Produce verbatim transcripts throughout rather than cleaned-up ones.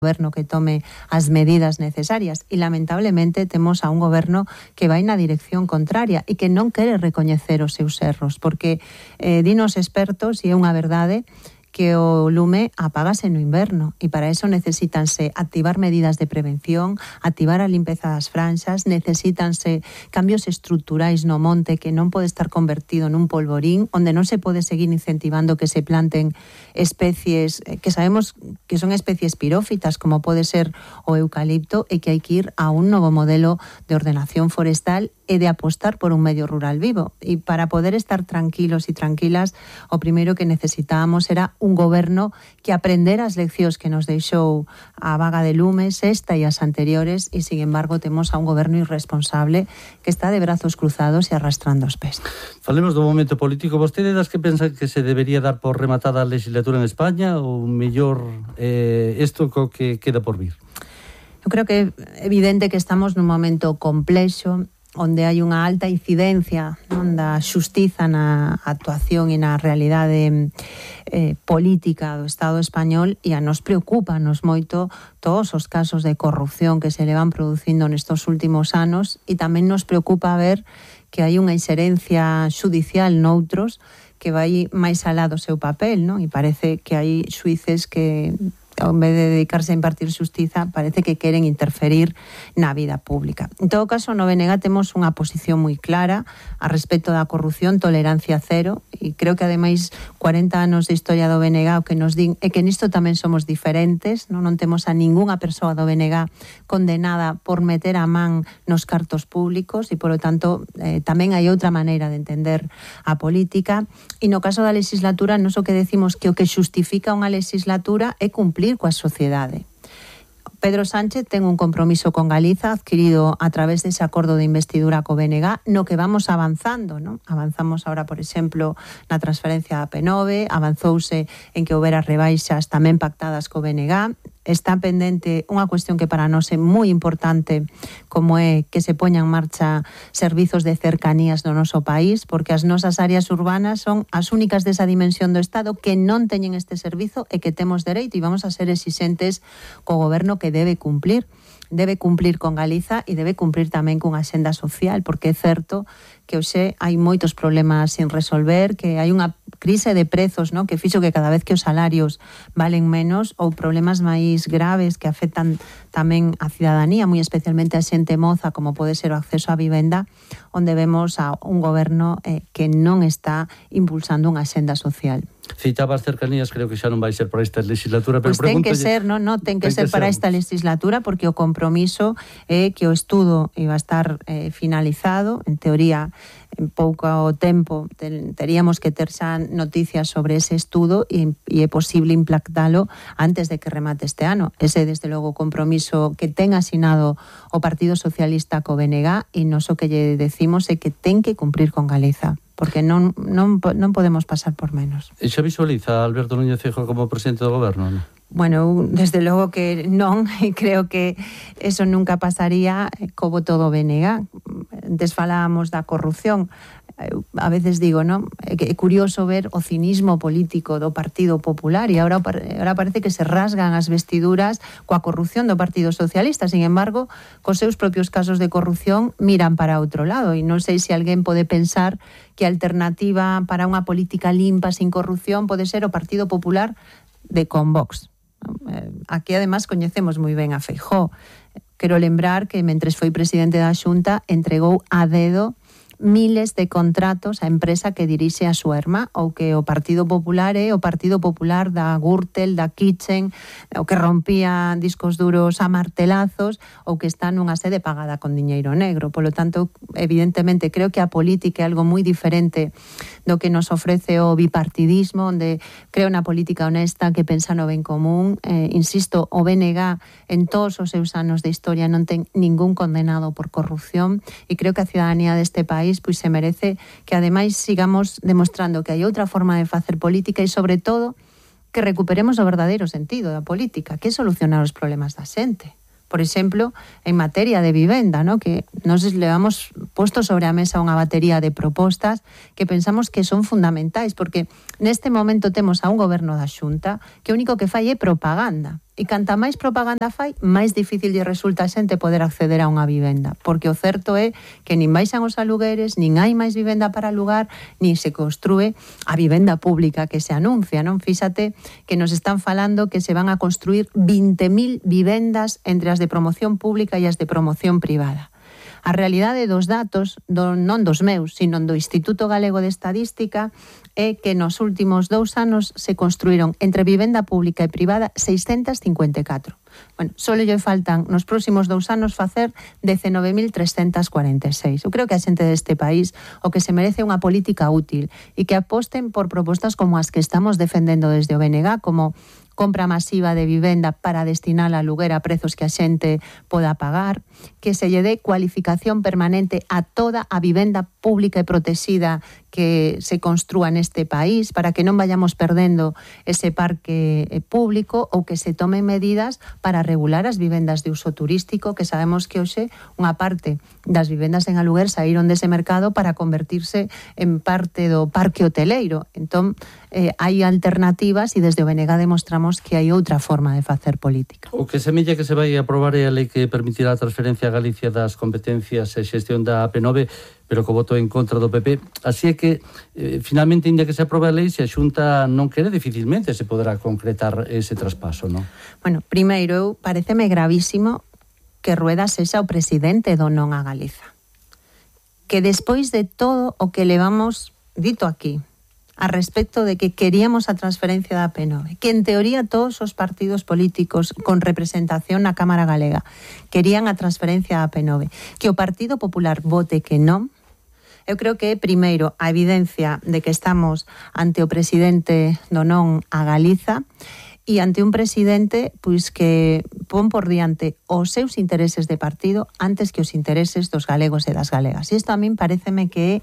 goberno que tome as medidas necesarias e lamentablemente temos a un goberno que vai na dirección contraria e que non quere recoñecer os seus erros, porque eh, dinos expertos, e é unha verdade, que o lume apágase no inverno e para eso necesítanse activar medidas de prevención, activar a limpeza das franxas, necesítanse cambios estruturais no monte que non pode estar convertido nun polvorín, onde non se pode seguir incentivando que se planten especies que sabemos que son especies pirófitas como pode ser o eucalipto e que hai que ir a un novo modelo de ordenación forestal e de apostar por un medio rural vivo. E para poder estar tranquilos e tranquilas, o primeiro que necesitábamos era un goberno que aprendera as leccións que nos deixou a vaga de lumes, esta e as anteriores, e, sin embargo, temos a un goberno irresponsable que está de brazos cruzados e arrastrando os pés. Falemos do momento político. Vostede das que pensan que se debería dar por rematada a legislatura en España ou mellor eh, isto co que queda por vir? Eu creo que é evidente que estamos nun momento complexo, onde hai unha alta incidencia non, da xustiza na actuación e na realidade eh, política do Estado español, e a nos preocupanos moito todos os casos de corrupción que se le van producindo nestos últimos anos, e tamén nos preocupa ver que hai unha inxerencia xudicial noutros que vai máis alá do seu papel, non? E parece que hai xuíces que, en vez de dedicarse a impartir xustiza, parece que queren interferir na vida pública. En todo caso, no B N G temos unha posición moi clara a respecto da corrupción, tolerancia cero, e creo que ademais cuarenta anos de historia do B N G o que nos din é que nisto tamén somos diferentes, non, non temos a ningunha persoa do B N G condenada por meter a man nos cartos públicos e, polo tanto, eh, tamén hai outra maneira de entender a política. E no caso da legislatura, nos o que decimos que o que xustifica unha legislatura é cumplir coa sociedade. Pedro Sánchez ten un compromiso con Galiza adquirido a través dese acordo de investidura co B N G, no que vamos avanzando, non? Avanzamos ahora, por exemplo, na transferencia da P nove, avanzouse en que houbera rebaixas tamén pactadas co B N G. Está pendente unha cuestión que para nós é moi importante, como é que se poñan en marcha servizos de cercanías no noso país, porque as nosas áreas urbanas son as únicas desa dimensión do Estado que non teñen este servizo e que temos dereito, e vamos a ser exixentes co goberno que debe cumplir. Debe cumplir con Galiza e debe cumplir tamén cunha axenda social, porque é certo que hoxe hai moitos problemas sin resolver, que hai unha crise de prezos, non, que fixo que cada vez que os salarios valen menos, ou problemas máis graves que afectan tamén a cidadanía, moi especialmente a xente moza, como pode ser o acceso á vivenda, onde vemos a un goberno eh, que non está impulsando unha axenda social. Citaba as cercanías, creo que xa non vai ser para esta legislatura, pero pues ten que ser, non, non, ten que ser para esta legislatura, porque o compromiso é que o estudo iba a estar eh, finalizado, en teoría en pouco tempo ten, teríamos que ter xa noticias sobre ese estudo e, e é posible implantalo antes de que remate este ano. Ese, desde logo, compromiso que ten asinado o Partido Socialista co B N G, e nos o que lle decimos é que ten que cumprir con Galiza, porque non, non, non podemos pasar por menos. E xa visualiza a Alberto Núñez Feijóo como presidente do goberno, non? Bueno, desde logo que non, e creo que eso nunca pasaría co voto do B N G. Antes falábamos da corrupción. A veces digo, non? É curioso ver o cinismo político do Partido Popular, e agora, agora parece que se rasgan as vestiduras coa corrupción do Partido Socialista. Sin embargo, cos seus propios casos de corrupción miran para outro lado, e non sei se alguén pode pensar que a alternativa para unha política limpa sin corrupción pode ser o Partido Popular de Convox. Aquí, además, coñecemos moi ben a Feijóo. Quero lembrar que, mentres foi presidente da Xunta, entregou a dedo miles de contratos á empresa que dirixe a súa irmá, ou que o Partido Popular é o Partido Popular da Gürtel, da Kitchen, o que rompía discos duros a martelazos, ou que está nunha sede pagada con diñeiro negro. Polo tanto, evidentemente, creo que a política é algo moi diferente do que nos ofrece o bipartidismo, onde creo na política honesta que pensa no ben común. Eh, insisto, o B N G en todos os seus anos de historia non ten ningún condenado por corrupción, e creo que a cidadanía deste país pois se merece que ademais sigamos demostrando que hai outra forma de facer política, e sobre todo que recuperemos o verdadeiro sentido da política, que é solucionar os problemas da xente. Por exemplo, en materia de vivenda, ¿no? Que nos levamos posto sobre a mesa unha batería de propostas que pensamos que son fundamentais, porque neste momento temos a un goberno da Xunta que o único que fai é propaganda. E canta máis propaganda fai, máis difícil lle resulta a xente poder acceder a unha vivenda. Porque o certo é que nin baixan os alugueres, nin hai máis vivenda para alugar, nin se construe a vivenda pública que se anuncia, non? Fíxate que nos están falando que se van a construir vinte mil vivendas entre as de promoción pública e as de promoción privada. A realidade dos datos, do, non dos meus, sino do Instituto Galego de Estadística, é que nos últimos dous anos se construíron entre vivenda pública e privada seiscentas cincuenta e catro. Bueno, só lle faltan nos próximos dous anos facer dezenove mil trescentas cuarenta e seis. Eu creo que a xente deste país o que se merece unha política útil e que aposten por propostas como as que estamos defendendo desde o B N G, como compra masiva de vivenda para destinar a aluguer a prezos que a xente poda pagar, que se lle dé cualificación permanente a toda a vivenda pública e protexida que se construa neste país para que non vayamos perdendo ese parque público, ou que se tomen medidas para regular as vivendas de uso turístico, que sabemos que hoxe unha parte das vivendas en aluguer saíron dese mercado para convertirse en parte do parque hoteleiro. Entón, eh, hai alternativas e desde o B N G demostramos que hai outra forma de facer política. O que semella que se vai aprobar é a lei que permitirá a transferencia a Galicia das competencias e xestión da A P nove, pero co voto en contra do P P. Así é que, eh, finalmente, inda que se aprobe a lei, se a Xunta non quere, dificilmente se poderá concretar ese traspaso, non? Bueno, primeiro, eu pareceme gravísimo que Rueda sexa o presidente do Non a Galiza. Que despois de todo o que levamos dito aquí, a respecto de que queríamos a transferencia da A P nove, que en teoría todos os partidos políticos con representación na Cámara Galega querían a transferencia da A P nove, que o Partido Popular vote que non, eu creo que é primeiro a evidencia de que estamos ante o presidente do Non a Galiza e ante un presidente pois que pon por diante os seus intereses de partido antes que os intereses dos galegos e das galegas. E isto a min pareceme que é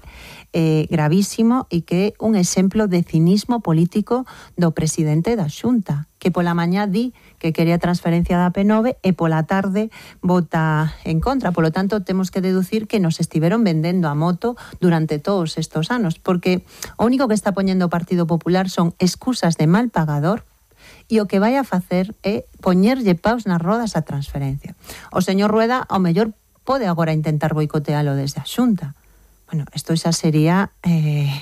eh, gravísimo e que é un exemplo de cinismo político do presidente da Xunta, que pola mañá di que quería transferencia da A P nove e pola tarde vota en contra. Polo tanto, temos que deducir que nos estiveron vendendo a moto durante todos estos anos, porque o único que está poñendo o Partido Popular son excusas de mal pagador, e o que vai a facer é poñerlle paus nas rodas a transferencia. O señor Rueda, ao mellor, pode agora intentar boicotealo desde a Xunta. Bueno, isto xa sería eh,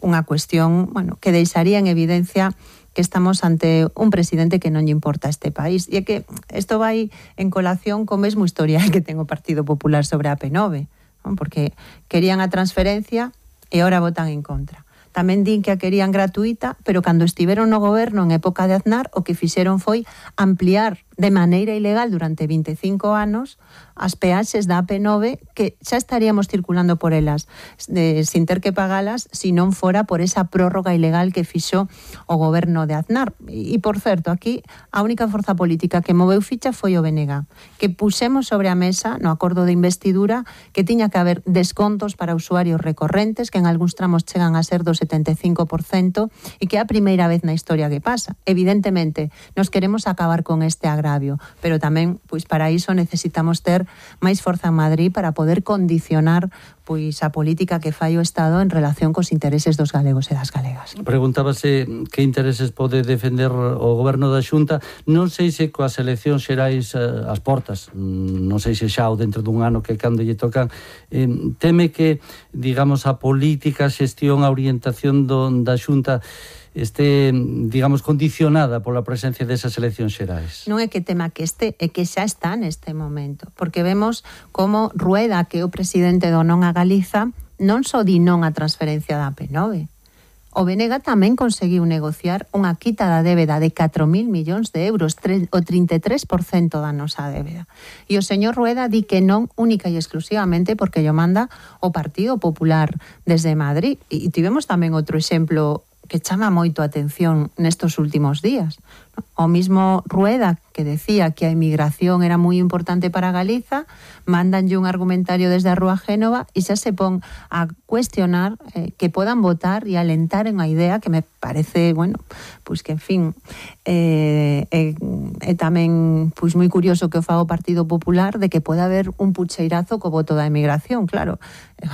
unha cuestión, bueno, que deixaría en evidencia que estamos ante un presidente que non lle importa a este país. E é que isto vai en colación co mesmo historial que ten o Partido Popular sobre a A P nove, non? Porque querían a transferencia e ahora votan en contra. Tamén din que a querían gratuita, pero cando estiveron no goberno en época de Aznar, o que fixeron foi ampliar de maneira ilegal durante vinte e cinco anos as peaxes da A P nove, que xa estaríamos circulando por elas de, sin ter que pagalas, se non fora por esa prórroga ilegal que fixo o goberno de Aznar. E, por certo, aquí a única forza política que moveu ficha foi o B N G, que puxemos sobre a mesa no acordo de investidura que tiña que haber descontos para usuarios recorrentes, que en algúns tramos chegan a ser do setenta e cinco por cento, e que é a primeira vez na historia que pasa. Evidentemente, nos queremos acabar con este agravio, pero tamén, pois para iso necesitamos ter máis forza en Madrid para poder condicionar pois a política que fai o Estado en relación cos intereses dos galegos e das galegas. Preguntábase que intereses pode defender o goberno da Xunta. Non sei se coas eleccións xerais as portas, non sei se xa ou dentro dun ano que cando lle tocan, eh, teme que, digamos, a política, a xestión, a orientación do, da Xunta este, digamos, condicionada pola presencia desas eleccións xerais. Non é que tema que este, é que xa está neste momento, porque vemos como Rueda, que é o presidente do Non a Galiza, non só di non a transferencia da A P nove. O B N G tamén conseguiu negociar unha quita da débeda de catro mil millóns de euros, o trinta e tres por cento da nosa débeda. E o señor Rueda di que non única e exclusivamente porque yo manda o Partido Popular desde Madrid. E tivemos tamén outro exemplo que chama moito a atención nestos últimos días. O mismo Rueda, que decía que a inmigración era moi importante para Galiza, mandanlle un argumentario desde a Rúa Génova e xa se pon a cuestionar eh, que podan votar e alentar unha idea que me parece, bueno, pois que, en fin, é eh, eh, eh, tamén pois moi curioso que o faga o Partido Popular de que pode haber un pucheirazo co voto da inmigración. Claro,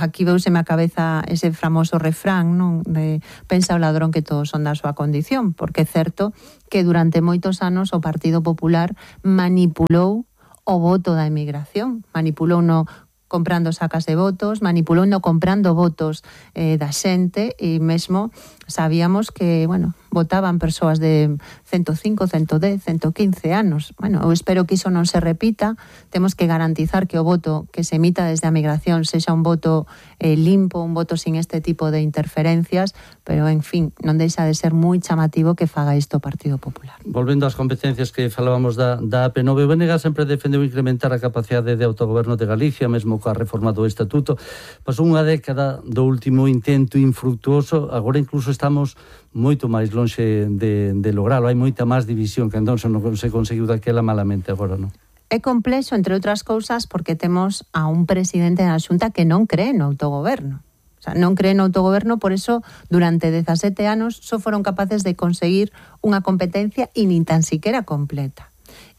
aquí veuseme a cabeza ese famoso refrán, non? De pensa o ladrón que todos son da súa condición, porque é certo que durante moitos anos o Partido Popular manipulou o voto da emigración, manipulou no comprando sacas de votos, manipulou no comprando votos eh, da xente e mesmo sabíamos que, bueno, votaban persoas de ciento cinco, ciento dez, ciento quince anos. Bueno, eu espero que iso non se repita. Temos que garantizar que o voto que se emita desde a migración sexa un voto eh, limpo, un voto sin este tipo de interferencias, pero, en fin, non deixa de ser moi chamativo que faga isto o Partido Popular. Volvendo ás competencias que falábamos da, da A P nove, o B N G sempre defendeu incrementar a capacidade de autogoberno de Galicia, mesmo coa reforma do Estatuto. Pasou unha década do último intento infructuoso, agora incluso estamos moito máis lonxe de, de logralo. Hai moita máis división que entón non se conseguiu daquela malamente agora, non? É complexo, entre outras cousas, porque temos a un presidente da Xunta que non cree no autogoberno. O sea, non cree no autogoberno, por eso durante dezasete anos só foron capaces de conseguir unha competencia e nin tan siquiera completa.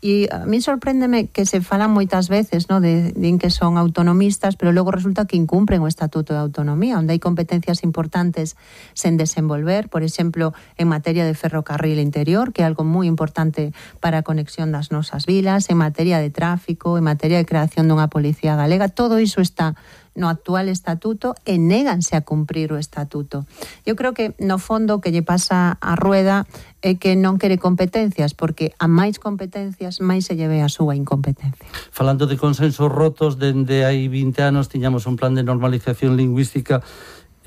E a mí sorpréndeme que se falan moitas veces, ¿no?, de, de que son autonomistas, pero logo resulta que incumpren o Estatuto de Autonomía, onde hai competencias importantes sen desenvolver, por exemplo, en materia de ferrocarril interior, que é algo moi importante para a conexión das nosas vilas, en materia de tráfico, en materia de creación dunha policía galega, todo iso está no actual estatuto e néganse a cumprir o estatuto. Eu creo que, no fondo, o que lle pasa a Rueda é que non quere competencias, porque a máis competencias, máis se lle ve a súa incompetencia. Falando de consensos rotos, dende hai vinte anos tiñamos un plan de normalización lingüística,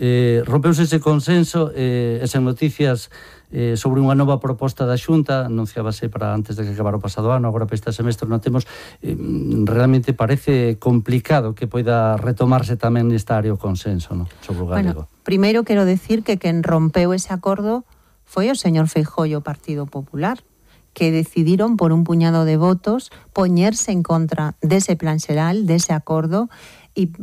eh, rompeuse ese consenso, eh, esas noticias eh, sobre unha nova proposta da Xunta, anunciábase para antes de que acabara o pasado ano, agora para este semestre non temos, eh, realmente parece complicado que poida retomarse tamén nesta área o consenso, no, sobre o galego. Bueno, primeiro quero decir que quen rompeu ese acordo foi o señor Feijóo e o Partido Popular, que decidiron por un puñado de votos poñerse en contra dese plan xeral, dese acordo, e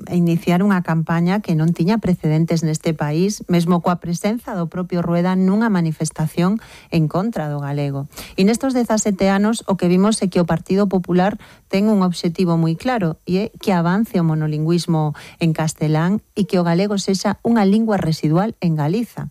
e iniciar unha campaña que non tiña precedentes neste país, mesmo coa presenza do propio Rueda nunha manifestación en contra do galego. E nestos dezasete anos o que vimos é que o Partido Popular ten un obxectivo moi claro, e é que avance o monolingüismo en castelán e que o galego sexa unha lingua residual en Galiza.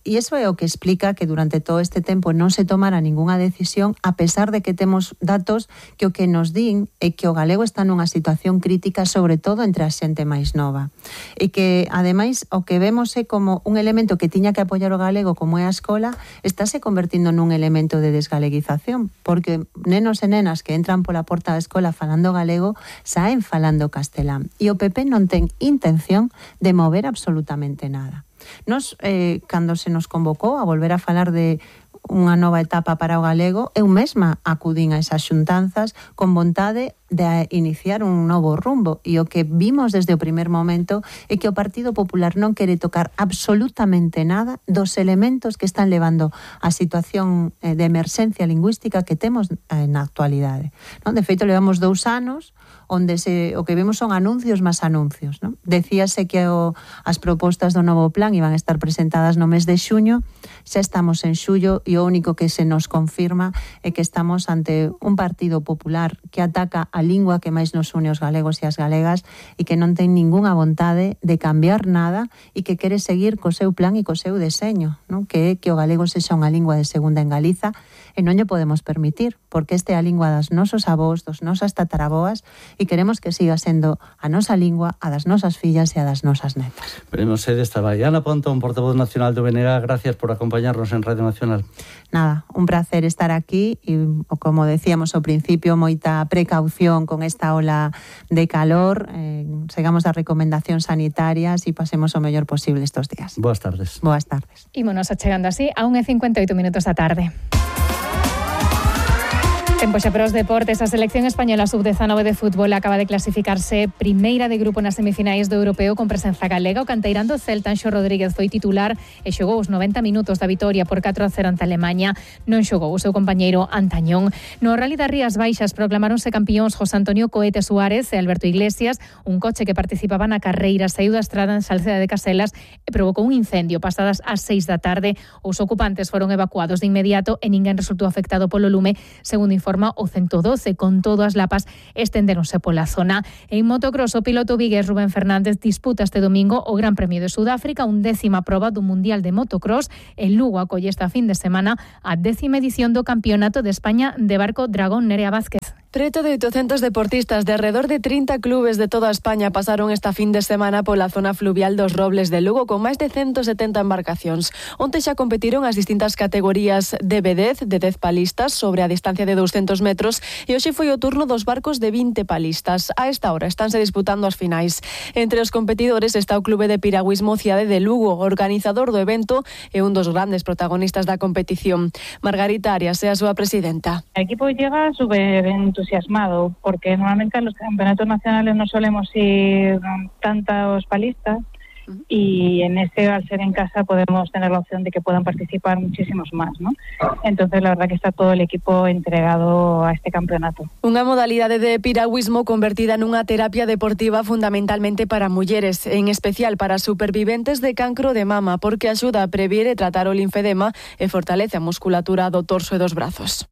E iso é o que explica que durante todo este tempo non se tomara ningunha decisión, a pesar de que temos datos que o que nos din é que o galego está nunha situación crítica, sobre todo entre a xente máis nova. E que, ademais, o que vemos é como un elemento que tiña que apoiar o galego, como é a escola, estáse convertindo nun elemento de desgaleguización, porque nenos e nenas que entran pola porta da escola falando galego saen falando castelán. E o P P non ten intención de mover absolutamente nada. Nos, eh, cando se nos convocou a volver a falar de unha nova etapa para o galego, eu mesma acudín a esas xuntanzas con vontade de iniciar un novo rumbo, e o que vimos desde o primer momento é que o Partido Popular non quere tocar absolutamente nada dos elementos que están levando a situación de emerxencia lingüística que temos na actualidade, non? De feito, levamos dous anos onde se, o que vemos son anuncios máis anuncios, non? Decíase que o, as propostas do novo plan iban a estar presentadas no mes de xuño, xa estamos en xullo e o único que se nos confirma é que estamos ante un Partido Popular que ataca a lingua que máis nos une os galegos e as galegas e que non ten ningunha vontade de cambiar nada e que quere seguir co seu plan e co seu deseño, non? Que é que o galego sexa unha lingua de segunda en Galiza, e non lle podemos permitir, porque esta é a lingua das nosos avós, dos nosas tataraboas, e queremos que siga sendo a nosa lingua, a das nosas fillas e a das nosas netas. Veremos se desta vai. Ana Pontón, portavoz nacional do B N G, gracias por acompañarnos en Radio Nacional. Nada, un placer estar aquí e, como decíamos ao principio, moita precaución con esta ola de calor, eh, segamos as recomendacións sanitarias e pasemos o mellor posible estes días. Boas tardes. Boas tardes. Ímonos achegando así a unha e cincuenta e oito minutos da tarde. Tempo xa para os deportes. A selección española sub dezanove de fútbol acaba de clasificarse primeira de grupo nas semifinais do europeo con presenza galega. O canteirán do Celta, Anxo Rodríguez, foi titular e xogou os noventa minutos da vitoria por catro a cero ante Alemaña. Non xogou o seu compañeiro Antañón. No Rally das Rías Baixas proclamaronse campións José Antonio Coete Suárez e Alberto Iglesias. Un coche que participaba na carreira saíu da estrada en Salceda de Caselas e provocou un incendio pasadas as seis da tarde. Os ocupantes foron evacuados de inmediato e ninguén resultou afectado polo lume, segundo informe forma o ciento doce, con todo as lapas estenderonse pola zona. En motocross, o piloto vigués Rubén Fernández disputa este domingo o Gran Premio de Sudáfrica, un décima proba do Mundial de Motocross. En Lugo acolle esta fin de semana a décima edición do Campeonato de España de Barco Dragón. Nerea Vázquez. Preto de oitocentos deportistas de alrededor de trinta clubes de toda España pasaron esta fin de semana pola zona fluvial dos Robles de Lugo con máis de ciento setenta embarcacións. Onte xa competiron as distintas categorías de B dez, de dez palistas sobre a distancia de doscientos metros e hoxe foi o turno dos barcos de vinte palistas. A esta hora estánse disputando as finais. Entre os competidores está o Clube de Piragüismo Cidade de Lugo, organizador do evento e un dos grandes protagonistas da competición. Margarita Arias é a súa presidenta. El equipo llega súper entusiasmado porque normalmente en los campeonatos nacionales no solemos ir tantos palistas y en este, al ser en casa, podemos tener la opción de que puedan participar muchísimos más, ¿no? Entonces la verdad que está todo el equipo entregado a este campeonato. Unha modalidade de piragüismo convertida nunha terapia deportiva fundamentalmente para mulleres, en especial para superviventes de cancro de mama, porque axuda a prevenir e tratar o linfedema e fortalece a musculatura do torso e dos brazos.